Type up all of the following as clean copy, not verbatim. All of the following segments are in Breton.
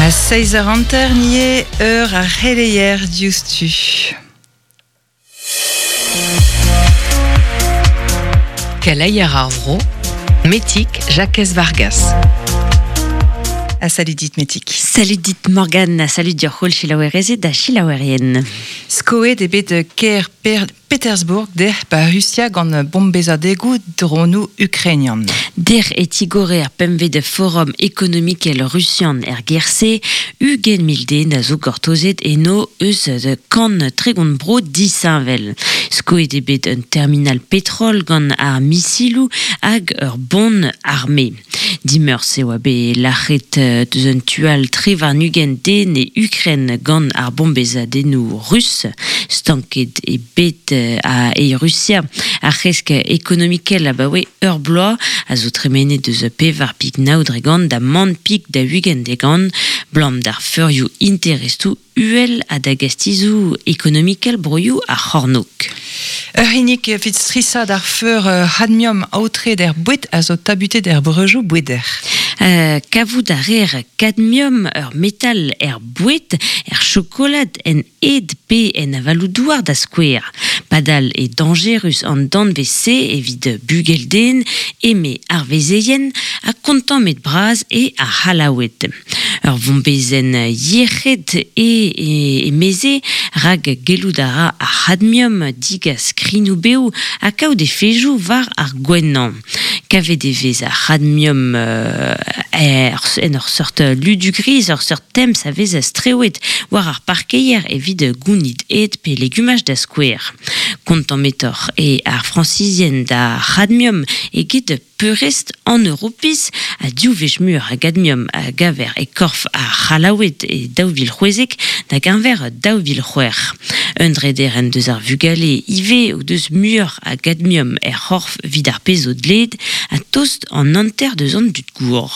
A 6 eur hanter nie eur ar c'heleier diouzhtu. Keleier ar vro, Metig Jakez Vargas. Ha salut dit Metig. Salut dit Morgane, salut dioc'h holl selaouerezed ha selaouerien. Skoet eo bet kêr Petersburg dec'h 'ba Rusia gant bombezadegoù dronoù ukrainian. Dec'h e tigore ar pempvet forum ekonomikel rusian er gêr-se. 20,000 den a zo gortozet eno eus kant 30 bro disheñvel. Skoet eo bet un terminal petrol gant ar misiloù hag ur bon arme. Dimeurzh e oa bet lac'het deus un tu all 23 den e Ukren gant ar bombezadennoù rus. Stanket eo bet a e Rusia ar c'hresk ekonomikel abaoe ur bloaz a zo tremenet deus pevar pik nav dregont da man pik da 20 degont 'blam d'ar feurioù interestoù uhel ha da gastizoù ekonomikel broioù ar c'hornôg. Ur c'hinnig evit strishaat ar feur c'hadmiom aotreet er boued a zo tabutet er breujoù boueder. Kavout a reer kadmiom, ur metal er boued, er chokolad, en ed pe en avaloù-douar da skouer. Padal eo dañjerus an danvez-se evit bugel-den, eme ar vezeien, ha kontammet bras eo ar C'hallaoued. Ur vombezenn yec'hed eo emeze, rak gellout a ra ar c'hadmiom digas krignoù-bev ha kaout efejoù war ar gouennañ. Kavet e vez ar c'hadmiom en ur seurt ludu gris, ur seurt temz a vez strewet war ar parkeier evit gounit ed pe legumaj da skouer. Kontammetoc'h eo ar Frañsizien d'ar c'hadmiom eget peurrest an Europiz ha div wech muioc'h a gadmiom a gaver e korf ar C'hallaoued e 2016 da geñver 2006. Un drederenn deus ar vugale ivez o deus muioc'h a gadmiom er c'horf evit ar pezh zo dleet ha tost an hanter deus an dud gour.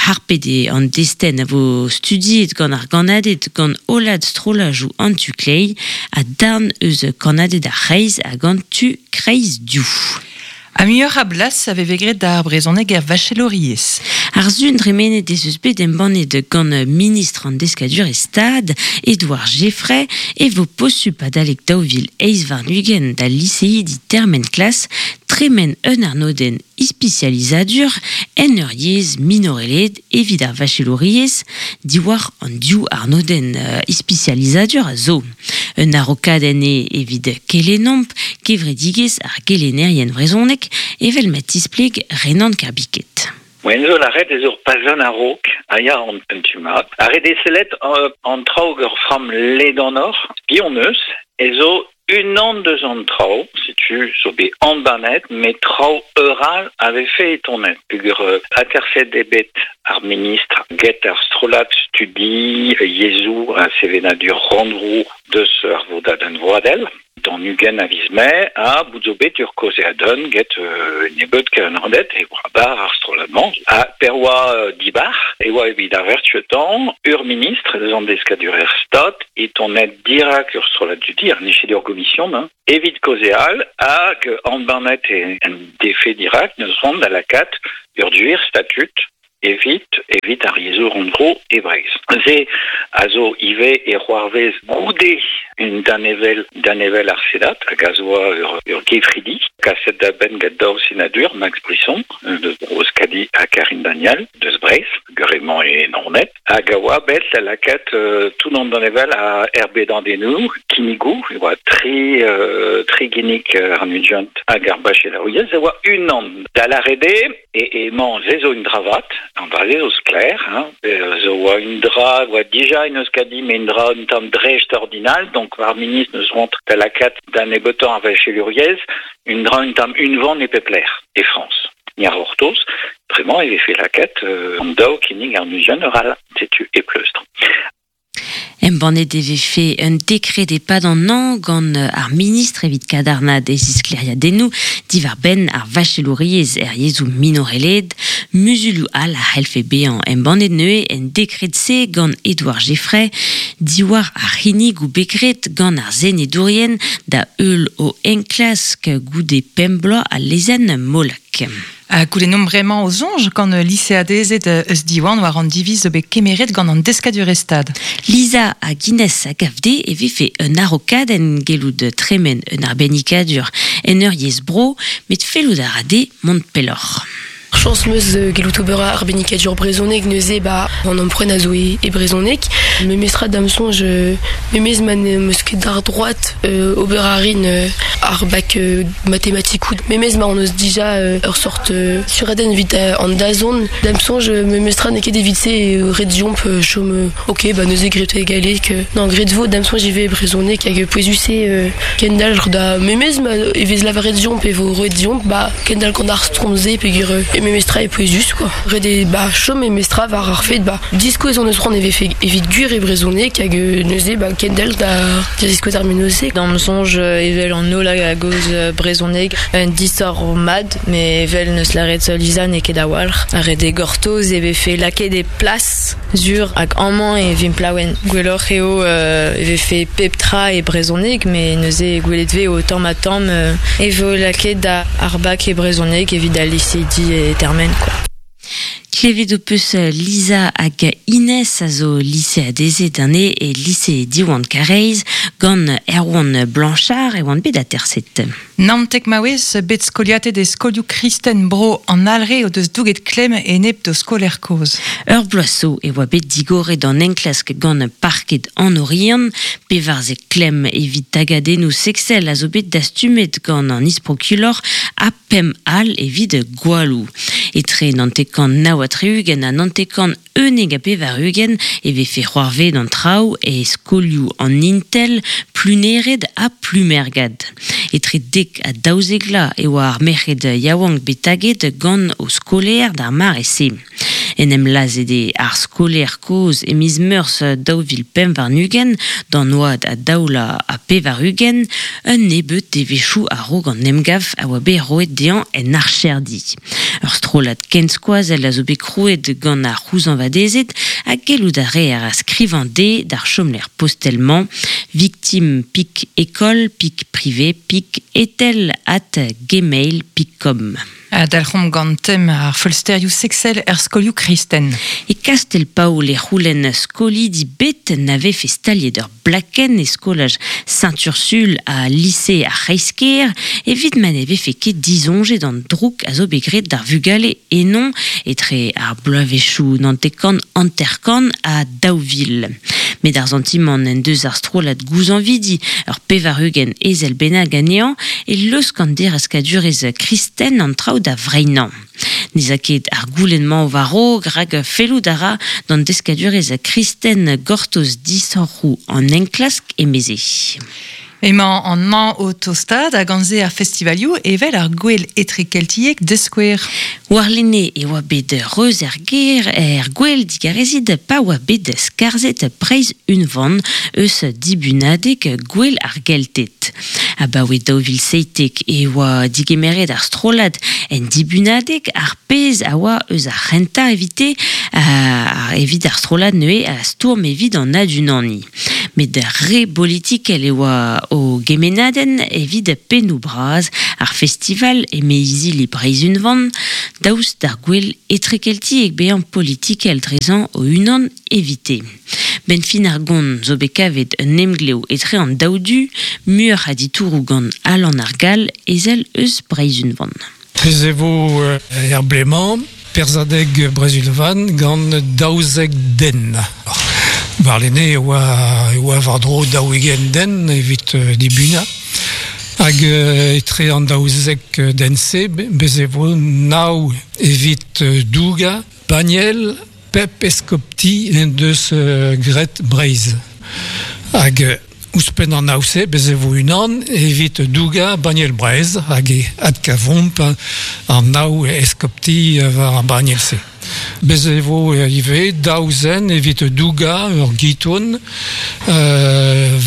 Harpet eo an destenn a vo studiet gant ar gannaded gant hollad strollajoù an tu kleiz ha darn eus kannaded ar c'hreiz hag an tu kreiz div. Ha muioc'h a blas a veve graet d'ar brezhoneg er vachelouriezh. Ar sun dremenet ez eus bet embannet gant ministr an Deskadurezh Stad, Edouard Geffray, e vo posupl adalek 2028 da liseidi termen klas tremen un arnodenn ispisializadur en ur yezh minorelaet evit ar vachelouriezh diwar an div arnodenn ispisializadur a zo. Un araokadenn eo evit kelennomp kevredigezh ar gelennerien vrezhonek evel ma tispleg Renan Kerbiket. Moaien zo lâret ez ur pazenn a-raok a ya an un tu mat. Ar re desellet an traoù ur framm ledanoc'h, piv eus, ez zo unan deus an traoù, setu zo bet embannet, met traoù ur all a vefe e tonet. Peogwir aterset eo bet ar ministr get ar strollad studi yezhoù ha sevenadur rannvro deus ar vodadenn vroadel. D'an 20 a viz Mae ha bout zo bet ur kaozeadenn get nebeut kelennerdet e oa bar ar strollad-mañ. Ha per oa dibar e oa evit ar vertuetañ ur ministr eus an deskadurezh Stad e tonet dirak ur strollad dudi, ar n'eo ket ur gomision, hein, evit kaozeal hag embannet en defe dirak n'eus c'hoant da lakaat ur gwir statud evit evit ar yezhoù rannvro e Breizh. Se a zo ivez e c'hoarvez goude un danevell danevell ar Senat hag a zo ur, ur gefridi kaset da benn gant daou senadur, Max Brisson deus Bro-Euskadi ha Karine Daniel deus Breizh, emañ e Naoned, hag a oa bet da lakaat tout an danevell a erbedadennoù, kinnigoù, e oa tri, tri ginnig an ugent hag ar bachelouriezh, e oa unan. Da lâret eo E emañ se zo un dra vat, an dra-se zo sklaer, hein, zo oa un dra, oa dija en Euskadi, met un dra un tamm dreist-ordinal, donc ar ministr neus c'hoant da lakaat da nebeutañ ar vachelouriezh, un dra un tamm unvan e pep lec'h e Frañs. Ni a c'hortoz, bremañ e vefe lakaat an daou kinnig ar muzian ur all, setu e pleustr. Embannet e vefe un dekred e-pad an hañv gant ar ministr evit kadarnaat e zisklêriadennoù diwar-benn ar vachelouriezh er yezhoù minorelaet. Muzulioù all a c'hellfe bezañ embannet neuze en dekred-se gant Edouard Geffray diwar ar c'hinnigoù bet graet gant ar senedourien da heul o enklask goude pemp bloaz al lezenn Molac. brezhoneg. Ha goulennomp bremañ o soñj gant liseadezed eus Diwan war an diviz zo bet kemeret gant an deskadurezh Stad. Lisa hag Inès a gav dezhe e vefe un araokadenn gellout tremen un arbennikadur en ur yezh bro, met fellout a ra dezhe mont pelloc'h. Chañs 'm eus gellout ober arbennikadur brezhoneg neuze ba an emprunt a zo e brezhoneg. Memestra da'm soñj memes ma n'em eus ket d'ar droad ober a rin ar bak matematikoù. Memes ma hon eus dija ur sort suradenn evit an dazont. Da'm soñj memestra n'eo ket evit se eo ret deomp chom ok ba neuze graet e galleg. Non graet vo da'm soñj ivez e brezhoneg hag pouezus eo kendalc'h da memes ma e vez lavaret deomp e vo roet deomp ba kendalc'h gant ar stromm-se peogwir e memestra eo pouezus quoi. Ret eo ba chom memestra war ar fed ba diskouez hon eus c'hoant e vefe evit gwir e brezhoneg hag neuze ba kendalc'h da ziskouez ar mennozh-se. D'am soñj evel an holl a gaoz brezhoneg un disoc'h mat met evel n'eus lâret Lisa n'eo ket a-walc'h. Ret eo gortoz e vefe lakaet e plas sur hag amañ e vimp laouen. Gwelloc'h eo e vefe pep tra e brezhoneg met neuze gwelet 'vez o tamm-ha-tamm e vo lakaet da ar bak e brezhoneg evit al liseidi e termen quoi. Klevet ho peus Lisa hag Inès a zo liseadezed anezhe e lise Diwan Karaez gant Erwan Blanchard e oant bet aterset. Naontek maouez bet skoliatet e skolioù kristen bro an Alre o deus douget klemm enep d'o skolaer kozh. Ur bloaz zo e oa bet digoret an enklask gant parked an Oriant. Pevarzek klemm evit tagadennoù seksel a zo bet dastumet gant an isprokulor ha pemp all evit gwalloù. Etre 99 ha 99 91 e vefe c'hoarvezet an traoù e skolioù an Intel, Plunered ha Plumergad. Etre 10 ha 12 vloaz e oa ar merc'hed yaouank bet taget gant o skolaer d'ar mare-se. En em lazhet eo ar skolaer kozh e miz Meurzh 2025 d'an oad a 82, un nebeud devezhioù a-raok an emgav a oa bet roet dezhañ en archerdi. Ur strollad kenskoazell a zo bet krouet gant ar c'houzañvadezed ha gellout a reer a skrivañ dezhe d'ar chomlec'h postel-mañ victime pik école pik privé pik etel at gmail pik com. Dalc'homp gant tem ar feulsterioù seksel er skolioù kristen. E Kastell-Paol e c'houlenn skolidi bet na vefe staliet ur blakenn e skolaj Saint-Ursule ha lise ar C'hreisker evit ma ne vefe ket disoñjet an droug a zo bet graet d'ar vugale eno etre ar bloavezhioù 99 ha 2000. Met ar santimant en deus ar strollad gouzañvidi ur 80 ezel bennak anezhañ e laosk an dereskadurezh kristen an traoù da vreinañ. N'ez a ket ar goulenn-mañ war-raok rak fellout a ra d'an deskadurezh kristen gortoz disoc'hoù an enklask emeze. Emañ an hañv o tostaat hag gant se ar festivalioù evel ar gouel etrekeltiek da skouer. Warlene e oa bet reuz er gêr er gouel digarezit pa oa bet skarzhet Breizh Unvan eus dibunadeg Gouel ar Gelted. Abaoe 2017 e oa digemeret ar strollad en dibunadeg ar pezh a oa eus ar c'hentañ evite evit ar strollad neuze a stourm evit an adunaniñ. Met re bolitikel e oa o gemennadenn evit pennoù bras ar festival eme izili Breizh Unvan daoust d'ar gouel etrekeltiek bezañ politikel drezañ o-unan evite. Ben fin ar gont zo bet kavet un emglev etre an daou du, muioc'h a ditouroù gant Alan ar Gall ezel eus Breizh Unvan. Bez e vo er blez-mañ perzhadeg Breizh Unvan gant 12 den. Warlene e oa e oa war-dro 40 den evit dibunañ. Hag etre an 12 den-se bez e vo nav evit dougañ banniel pep eskopti en deus graet Breizh. Hag ouzhpenn an nav-se bez e vo unan evit dougañ banniel Breizh hag e adkavomp an nav eskopti war ar banniel-se. Bez e vo ivez daou zen evit dougañ ur giton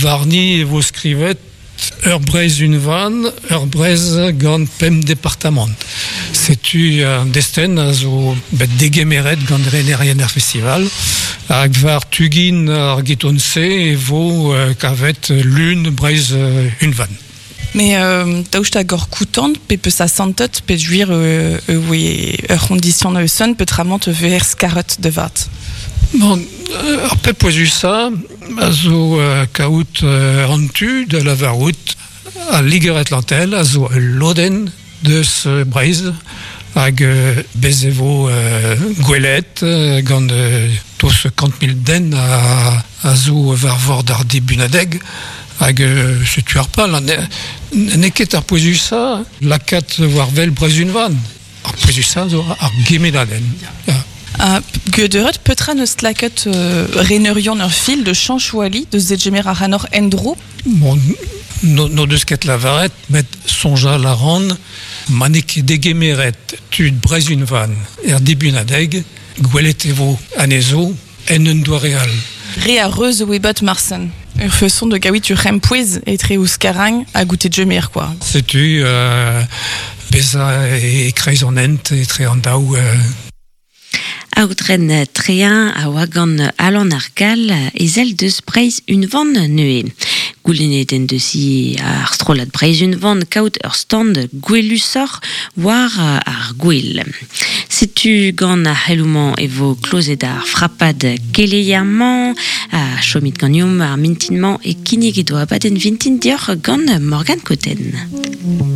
warni e vo skrivet ur Breizh unvan, ur Breizh gant pemp departamant. Setu an destenn a zo bet degemeret gant renerien ar festival hag war tu-gin ar giton-se e vo kavet lun Breizh unvan. Me daoust hag ur koutant pe peus a santet pe juir oe ur c'hondition eus un petramant ver skaret de vat. Bon, ar pep pouezusa a zo kaout an tu da lavarout a Liger Atlantel a zo ul lodenn deus Breizh hag bez e vo gwelet gant toz 100 000 den a zo war vord ar dibunadeg hag setu ar pal n'eo ket ar pouezusa lakaat war wel Breizh unvan. Ar pouezusa zo ar gemenadenn. Ya. Geudet petra neus laket reneurion ur fil de chanchouali de zegemer ar hanor endro? Bon, no deus ket lavaret, met sonjal a ran, ma n'eo ket degemeret tud Breizh unvan er dibunadeg, gwelet e vo anezho en un doare all. Re a reuz oe bat marsen. Ur façon de gaouit ur c'hempouez etre ouzh karagn ha goûter djemer, quoi. Setu beza e kreiz an hent etre an daou. Aotren Trein a oa gant Alan ar Gall ezel deus Breizh unvan neue. Goulennet en deus i ar strollad Breizh unvan kaout ur stand gwelusoc'h war ar gwel. Setu gant ar c'heloumañ e vo klozet ar frapad keleier-mañ a chomit ganeomp ar mintin-mañ e kinnig edo abadenn vintin deoc'h gant Morgane Cotten.